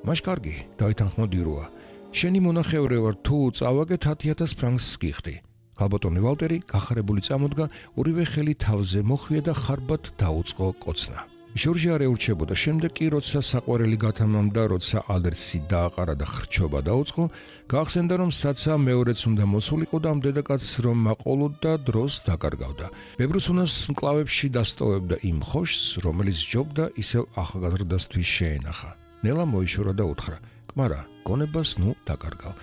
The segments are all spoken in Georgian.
მაშ კარგი, დაითანხმა დიროა. შენი მონახევრე ვარ, თუ წავაგე 10,000 ფრანკს გიხდი. ქალბატონი ვალტერი გახარებული წამოდგა, ორივე ხელი თავზე მოხვია და ხარბად დაუწყო კოცნა. ჟორჟი არ ეურჩებოდა, შემდეგ კი როცა საყვარელი გათამამდა, როცა ალერსი დააყარა და ხრჩობა დაუწყო, გაახსენდა რომ საცა მეორეც უნდა მოსულიყო და ამ დედაკაცს რომ მაყოლოდა დროს დაკარგავდა. ბებრუსუნას მკლავებში დასტოვებდა იმ ხოშს, რომელიც ჯობდა ისევ ახალგაზრდასთვის შეენახა. ნელა მოიშორა და უთხრა: "კმარა, გონებას ნუ დაკარგავ."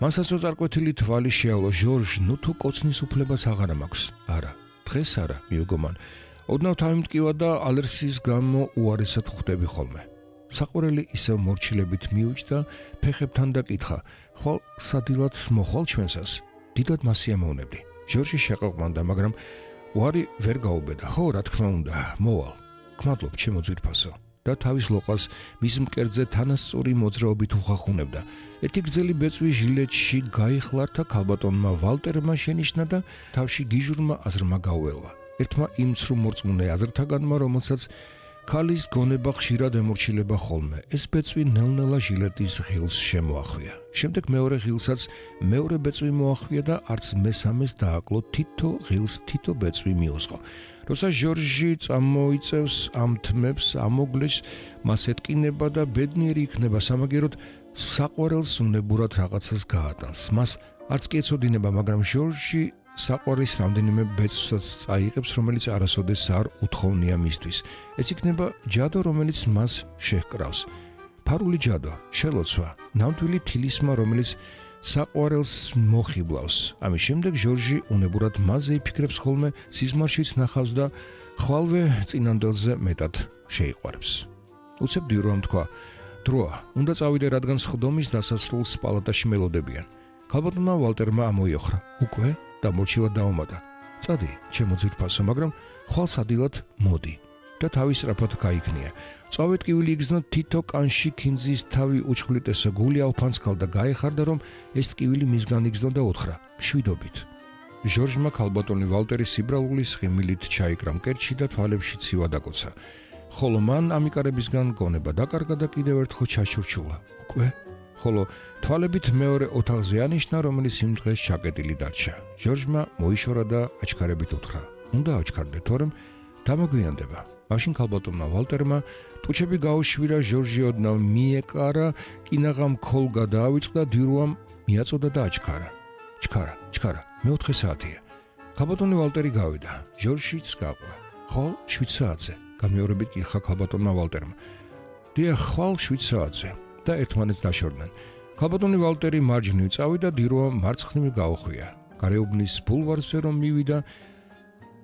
მანსაც წარკვეთილი თვალი შეავლო: "ჟორჟ, ნუ თუ კოცნის უფლებას აღარ მაქვს." "არა, დღეს არა," მიუგო მან. ოდნავ თავი მტკივა და ალერსის გამო უარესად ხვდები ხოლმე. საყვარელი ისევ მორჩილებით მიუჯდა ფეხებთან და კითხა: "ხვალ სადილად მოხვალ ჩვენსას?" "დიდად მასია მოვნებდი." ჟორჟი შეყოყმანდა, მაგრამ უარი ვერ გაუბედა. "ხო, რა თქმა უნდა, მოვალ." "გმადლობ, ჩემო ძვირფასო." და თავის ლოყას მის მკერდზე თანასწორი მოძრაობით უხახუნებდა. ერთი გრძელი ბეწვი ჟილეტში გაიხლართა ქალბატონმა ვალტერმა შენიშნა და თავში გიჟურმა აზრმა გაუელვა. ერთმა იმ ცრუ-მორწმუნე აზრთაგანმა, რომელსაც ქალის გონება ხშირად ემორჩილება ხოლმე. ეს ბეწვი ნელ-ნელა ჟილეტის ღილს შემოახვია. შემდეგ მეორე ღილსაც მეორე ბეწვი მოახვია და არც მესამეს დააკლო, თითო ღილს თითო ბეწვი მიუსყო. როცა ჟორჟი წამოიწევს ამ თმებს, ამოგლეს, მას ეტკინება და ბედნიერი იქნება სამაგეროდ, საყვარელს უნებურად რაღაცას გაატანს. მას არც კი ეცოდინება, მაგრამ ჟორჟი საყვარის რამდენიმე ბეწვსაც წაიღებს, რომელიც არასოდეს არ უთხოვნია მისთვის. ეს იქნება ჯადო, რომელიც მას შეჰკრავს. ფარული ჯადო, შელოცვა, ნამდვილი თილისმა, რომელიც საყვარელს მოხიბლავს. ამის შემდეგ ჟორჟი უნებურად მასზე იფიქრებს ხოლმე, სიზმარშიც ნახავს და ხვალვე წინანდელზე მეტად შეიყვარებს. უცებ დიროამ თქვა: "დროა, უნდა წავიდე, რადგან სხდომის დასასრულს პალატაში მელოდებიან." ქალბატონმა ვალტერმა ამოიოხრა: "უკვე?" და მორჩილად დაუმატა: "წადი, ჩემო ძვირფასო, მაგრამ ხვალ სადილად მოდი." და თავის სწრაფად გაიქნია. წავე ტკივილი იგზნო, თითო კანში ქინძის თავი უჩხვლიტესო, გული აუფანსქალ და გაეხარდა, რომ ეს ტკივილი მისგან იგზნო და უთხრა: "მშვიდობით." ჟორჟმა ქალბატონი ვალტერი სიბრალულის ხიმილით ჩაიკრა მკერდში და თვალებში ცივა დაკოცა. ხოლო მან ამიკარებისგან გონება დაკარგა და კიდევ ერთხელ ჩაშურჩულა: "უკვე?" ხოლო თვალებით მეორე ოთახზე ანიშნა, რომელიც იმ დღეს ჩაკეტილი დარჩა. ჟორჟმა მოიშორა და აჩქარებით უთხრა: "უნდა აჩქარდე, თორემ დამოგვიანდება." მაშინ ქალბატონმა ვალტერმა ტუჩები გაუშვირა, ჟორჟი ოდნავ მიეკარა, კინაღამ ქოლ გადაავიწყდა, დირუამ მიაწოდა და აჩქარა. ჩქარა, მეოთხე საათია. ქალბატონი ვალტერი გავიდა, ჟორჟიც გაყვა. "ხვალ 7 საათზე?" გამეორებით კითხა ქალბატონმა ვალტერმა. "დიახ, ხვალ 7 საათზე." და ერთმანეთს დაშორდნენ. ქალბატონი ვალტერი მარჯვნივ წავიდა, დირუამ მარცხნივ გაუხვია. გარეუბნის ბულვარზე რომ მივიდა,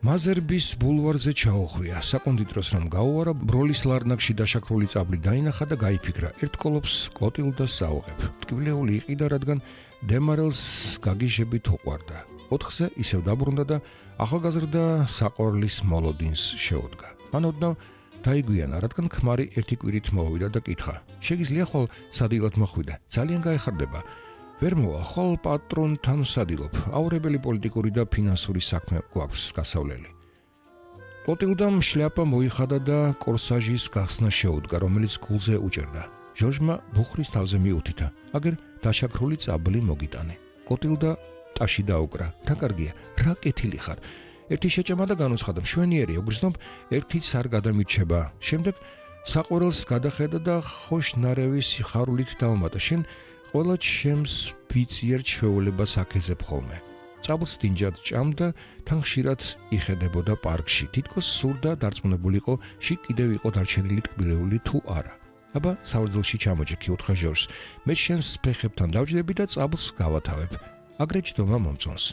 მაზერბის ბულვარზე ჩაუხვია. საკონდით დროს რომ გაუარა, ბროლის ლარნაკში დაშაქრული წაბლი დაინახა და გაიფიქრა: ერთკოლოფს კლოტილდას საუღებ. ტკბილეული იყიდა, რადგან დემარელს გაგიჟებით უყვარდა. 4-ზე ისევ დაბრუნდა და ახალგაზრდა საყვარლის მოლოდინს შეუდგა. მან ოდნავ დაიგვიანა, რადგან ქმარი ერთი კვირით მოვიდა და კითხა: "შეგიძლია ხვალ სადილად მოხვიდე? ძალიან გაეხარდება." "ვერ მოვა, ხვალ პატრონთან ვსადილობ. აურებელი პოლიტიკური და ფინანსური საქმე გვაქვს გასავლელი." კლოტილდამ შლაპა მოიხადა და კორსაჟის გახსნა შეუდგა, რომელიც გულზე უჭერდა. ჟორჟმა ბუხრის თავზე მიუთითა: "აგერ დაშაქრული წაბლი მოგიტანე." კლოტილდა ტაში დაუკრა: "დაკარგია, რა კეთილი ხარ. ერთი შეჭამა და განუცხადა, მშვენიერია, გრძნობ, ერთიც არ გადამირჩება." შემდეგ საყვარელს გადახედა და ხოშნარევის სიხარულით დაუმატა: "შენ ყველა ჩემს ბიციერ ჩვეულებას აქეზებ ხოლმე." წაბლს დინჯად ჭამდა, თან ხშირად იხედებოდა პარკში. თითქოს სურდა დარწმუნებულიყო, შიგ კიდევ იყო დარჩენილი ტკბილეული თუ არა. "აბა, საურძელში ჩამოჯექი," უთხრა ჟორჟს. "მე შენს ფეხებთან დავჯდები და წაბლს გავათავებ. აგრე ჯდომა მომწონს."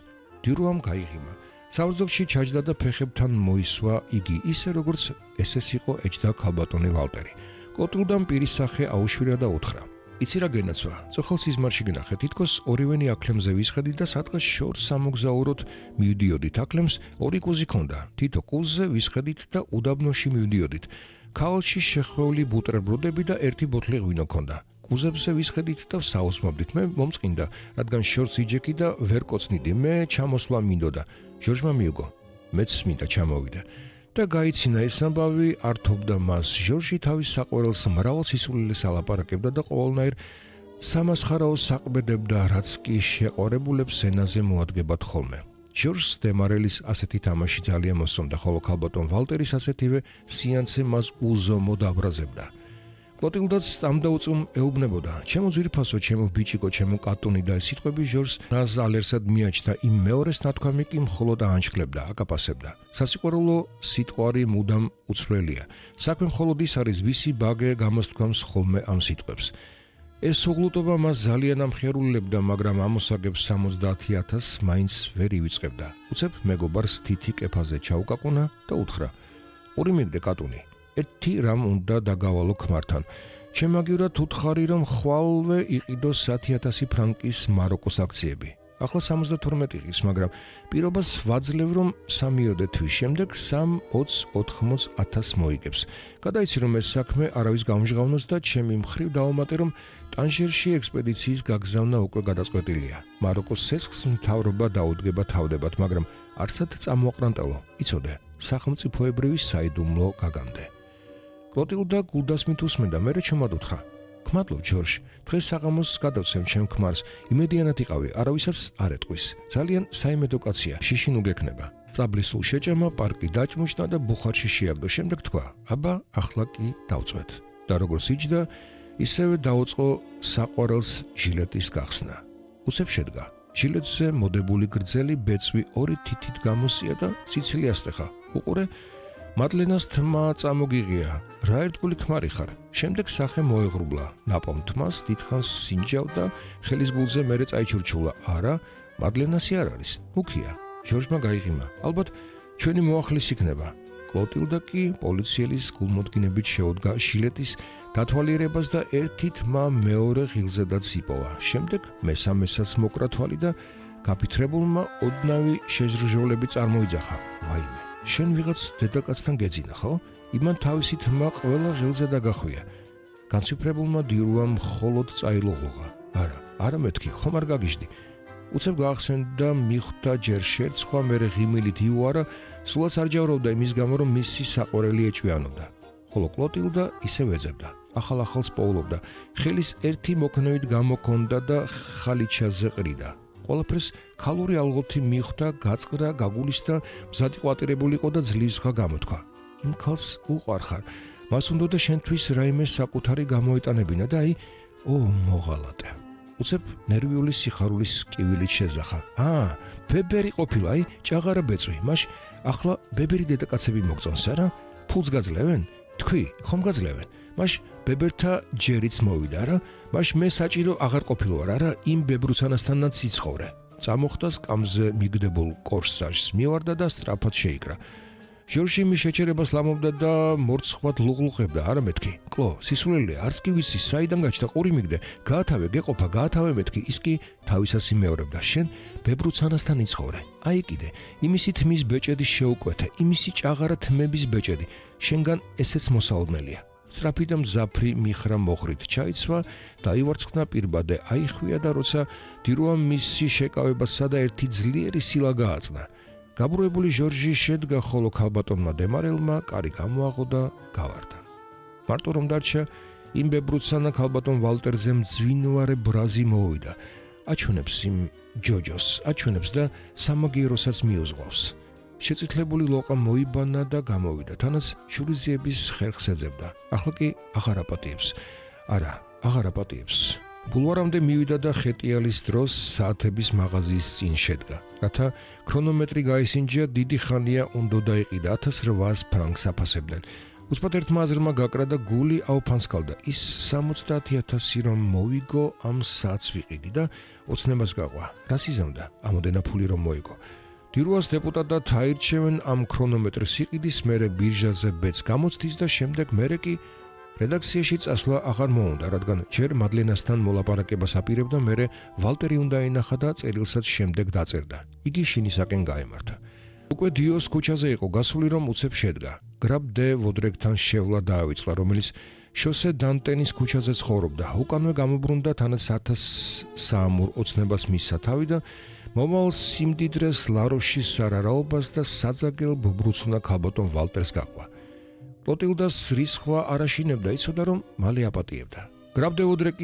დირუამ გაიღიმა. საურძელში ჩაჯდა და ფეხებთან მოისვა იგი, ისე როგორც ესეც იყო ეჯდა ქალბატონი ვალტერი. კლოტილდამ პირის სახე აუშვირა და უთხრა: "იცი რა გენაცვა, წოხალ სიზმარში გნახე, თითქოს ორივენი აკლემზე ვისხედით და სადღაც შორს სამოგზაუროთ მივდიოდით. აკლემს 2 კუზი ქონდა, თითო კუზზე ვისხედით და უდაბნოში მივდიოდით. ქალში შეხვეული ბუტერბროდები და ერთი ბოთლი ღვინო ქონდა. კუზებზე ვისხედით და ვსაუზმობდით. მე მომწყინდა, რადგან შორს იჯექი და ვერ კოცნიდი, მე ჩამოსვლა მინდოდა." ჟორჟმა მიუგო. "მეც მინდა ჩამოვიდე." და გაიცინა ეს ამბავი ართობდა მას. ჟორჟი თავის საყვარელს მრავალ სისულელეს ალაპარაკებდა და ყოველნაირ სამასხარაოს საყბედებდა, რაც კი შეყვარებულებს ენაზე მოადგებათ ხოლმე. ჟორჟს დემარელის ასეთი თამაში ძალიან მოსწონდა, ხოლო ქალბატონ ვალტერის ასეთივე სიანცე მას უზომოდ აბრაზებდა. კლოტილდაც ამდაუწუმ ეუბნებოდა: ჩემო ძვირფასო, ჩემო ბიჭიკო, ჩემო კატუნი და ეს სიტყვები ჟორჟს ნაზალერსად მიაჩნდა, იმ მეორეს ნათქვამი კი მხოლოდ აანჩქლებდა, აკაპასებდა. სასიყვარულო სიტყვარი მუდამ უცვლელია. საქმე მხოლოდ ის არის, ვისი ბაგე გამოსთქვამს ხოლმე ამ სიტყვებს. ეს უღლუტობა მას ძალიან ამხიარულებდა, მაგრამ ამოსაგებს 70,000 მაინც ვერ ივიწყებდა. უცებ მეგობარს თითი კეფაზე ჩაუკაკუნა და უთხრა: ორი მიგდე კატუნი. ერთი რამ უნდა დაგავალო ქმართან. შემაგივრად უთხარი, რომ ხვალვე იყიდოს 10,000 ფრანკის მაროკოს აქციები. ახლა 72 ღირს, მაგრამ პირობას ვაძლევ, რომ 3 თვის შემდეგ 3-20-80,000 მოიგებს. გადაიცი, რომ ეს საქმე არავის გამჟღავნოს და ჩემი მხრივ დავამატე, რომ ტანჟერში ექსპედიციის გაგზავნა უკვე გადაწყვეტილია. მაროკოს სესხს მთავრობა დაუდგება თავდებად, მაგრამ არსად წამოაყრანტელო, იცოდე, სახელმწიფოებრივი საიდუმლო გაგამდე. კლოტილდა გულდასმით უსმენდა, მერე ჩუმად უთხრა: გმადლობ ჟორჟ, დღეს საღამოს გადავცემ ჩემ ქმარს, იმედიანად იყავი, არავისაც არ ეტყვის. ძალიან საიმედო კაცია, შიშინ უგექნება. წაბლისულ შეჭამა, პარკი დაჭმუშნა და ბუხარში შეაგდო. შემდეგ თქვა: აბა, ახლა კი დავწვეთ. და როგორც იჯდა, ისევე დაუწყო საყვარელს ჟილეტის გახსნა. უცებ შედგა. ჟილეტზე მოდებული გრძელი ბეწვი ორი თითით გამოსია და სიცილი ასტეხა. უყურე, მადლენას თმა წამოგიღია, რა ერთგული ქმარი ხარ. შემდეგ სახე მოეღრუბლა, ნაპოვნ თმას დიდხანს სინჯავდა, ხელის გულზე მერე წაიჩურჩულა. არა, მადლენასი არ არის, მუქია. ჟორჟმა გაიღიმა, ალბათ ჩვენი მოახლის იქნება. კლოტილდა კი პოლიციელის გულმოდგინებით შეუდგა ჟილეტის დათვალიერებას და ერთი თმა მეორე ღილზედაც იპოვა. შემდეგ მესამესაც მოკრა თვალი და გაფიქრებულმა ოდნავი შეჟრჟოლები წარმოიძახა. ვაიმე, შენ ვიღაც დედაკაცთან გეძინა, ხო? იმან თავისი თმა ყველა ღილზე დაგახვია. განციფრებულმა დირუამ მხოლოდ წაილოღლოღა. არა მეთქი, ხომ არ გაგიჟდი. უცებ გაახსენდა მიხვდა ჯერ შერცხვა, მერე ღიმილით იუარა, სულაც არ ჯავრობდა იმის გამო, რომ მისი საყვარელი ეჭვიანობდა. ხოლო კლოტილდა ისევ ეძებდა, ახალ-ახალს პოულობდა, ხელის ერთი მოქნევით გამოქონდა და ხალიჩაზე ყრიდა. ყველაფერს ქალური ალღოთი მიხვდა, გაწყდა, გაგულისდა, მზად ყვატირებული იყო და ძლივს ხა გამოთქვა. იმ ქალს უყვარხარ, მას უნდა შენთვის რაიმე საკუთარი გამოეტანებინა და მოღალატე. უცებ ნერვიული სიხარულის კივილით შეზახა. ბებერი ყოფილა, ჭაღარა ბეწვი, მაშ ახლა ბებერი დედაკაცები მოგწონს, არა? ფულს გაძლევენ? თქვი, ხომ გაძლევენ? მაშ ბებერთა ჯერიც მოვიდა, არა? მაშ მე საჭირო აღარ ყოფილვარ, არა? იმ ბებრუცანასთანაც სიცხოვრე. წამოხდა სკამზე მიგდებულ კორსაჟს, მივარდა და სწრაფად შეიკრა. ჟორჟი მის შეჩერებას ლამობდა და მორცხვად ლუღლუღებდა. არა მეთქი, კლო, სისულელია, არც კი ვიცი, საიდან გაჩნდა ყური მიგდე, გაათავე, გეყოფა, გაათავე მეთქი, ის კი თავისას იმეორებდა. შენ ბებრუცანასთან იცხოვრე. აი კიდე, იმისი თმის ბეჭედი შეუკვეთე, იმისი ჭაღარა თმების ბეჭედი, შენგან ესეც მოსაოდნელია. სწრაფი და მზაფრი მიხრა მოხრით ჩაიცვა, დაივარცხნა პირბადე, აიხვია და როცა დირუამ მისი შეკავებასა და ერთი ძლიერი სილა გააწნა. გაბრუებული ჟორჟი შედგა, ხოლო ქალბატონმა დემარელმა კარი გამოაღო და გავარდა. მარტო რომ დარჩა, იმ ბებრუცანა ქალბატონ ვალტერზე მძვინვარე ბრაზი მოვიდა. აჩვენებს იმ ჯოჯოს, აჩვენებს და სამაგიეროსაც მიუძღვავს. შეწითლებული ლოყა მოიბანა და გამოვიდა, თანაც შურიზიების ხერხს ეძებდა. ახლა კი აღარ აპატიებს. არა, აღარ აპატიებს. ბულვარამდე მივიდა და ხეტიალის დროს საათების მაღაზიის წინ შედგა. რათა ქრონომეტრი გაისინჯა, დიდი ხანია უნდა დაიყიდა, 1800 ფრანკს აფასებდნენ. უცბად ერთმა აზრმა გაკრა და გული აუფანსკალდა. ის 70,000 რომ მოვიგო, ამ საათს ვიყიდი და ოცნებას გაყვა. რას იზამდა? ამოდენა ფული რომ მოიგო. დირუას დეპუტატად აირჩევენ, ამ ქრონომეტრს იყიდის, მერე ბირჟაზე ბეწ გამოცდის და შემდეგ მერე კი რედაქციაში წასვლა აღარ მოუნდა, რადგან ჯერ მადლენასთან მოლაპარაკებას აპირებდა, მერე ვალტერი უნდა ენახა და წერილსაც შემდეგ დაწერდა. იგი შინისაკენ გაემართა. უკვე დიოს ქუჩაზე იყო გასული, რომ უცებ შედგა. გრაბ დე ვოდრეგთან შევლა დაავიწყლა, რომელიც შოსე დანტენის ქუჩაზე ცხოვრობდა. უკანვე გამობრუნდა, თანაც 1300 ოცნებას მისცა თავი და მომავალ სიმდიდრეს ლაროშის სარარაობას და საძაგელ ბუბრუცუნა ქალბატონ ვალტერს გაყვა. კლოტილდას რისხვა არ აშინებდა, იცოდა რომ მალე აპატიებდა. გრაფ დე უდრეკი